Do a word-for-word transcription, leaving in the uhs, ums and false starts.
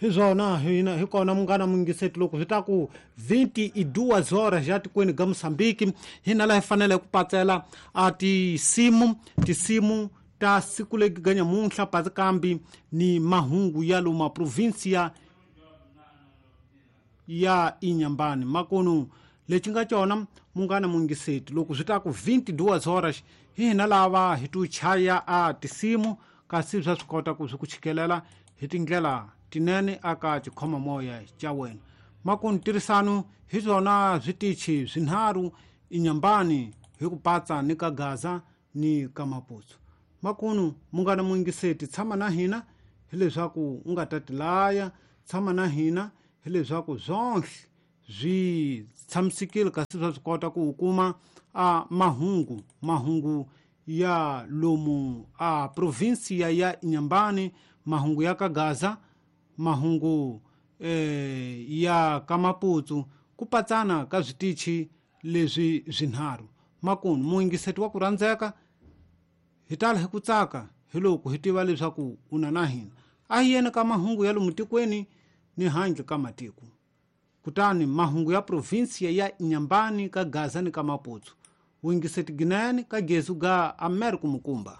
Hi swona hina hi kona munghana muyingiseti loko swi ta ku vinte e duas horas ya tikweni ga Mosambiki, hina laha hi fanele ku patsela a tisimu tisimu ta siku legi ga nyamuntlha, patsi kambi ni mahungu ya loma provinsia ya Inyambani. Makunu lexi nga cona, munghana muyingiseti, loko swi ta ku vinte e duas horas, hi hina lava hi tu chaya a tisimu, kasi swa swi kota ku swi ku chikelela hi tindlela tinene aka xikhomamoya xa wena. Makunu ntirhisano hi swona switichi swinharhu Inyambani hi ku patsa ni ka Gaza ni ka Maputo. Makunu munghana muyingiseti, tshama na hina hileswaku u nga ta tilaya, tshama na hina hileswaku swonhle swi tshamisekile, kasi swa swi kota ku u kuma a mahungu mahungu ya lomu a provinsia ya Inyambani, mahungu ya ka Gaza, mahungu eh, ya ka Maputo, ku patsana ka switichi leswi swinharhu. Makunu muyingiseti wa ku rhandzeka, hi tala hi ku tsaka hi loko hi tiva leswaku u na na hina. A hi yeni ka mahungu ya lomu tikweni ni handle ka matiko, kutani mahungu ya provinsia ya Inyambani, ka Gaza ni ka Maputo. Wuyingiseti ginene ka gezu ga Amerika Mukumba.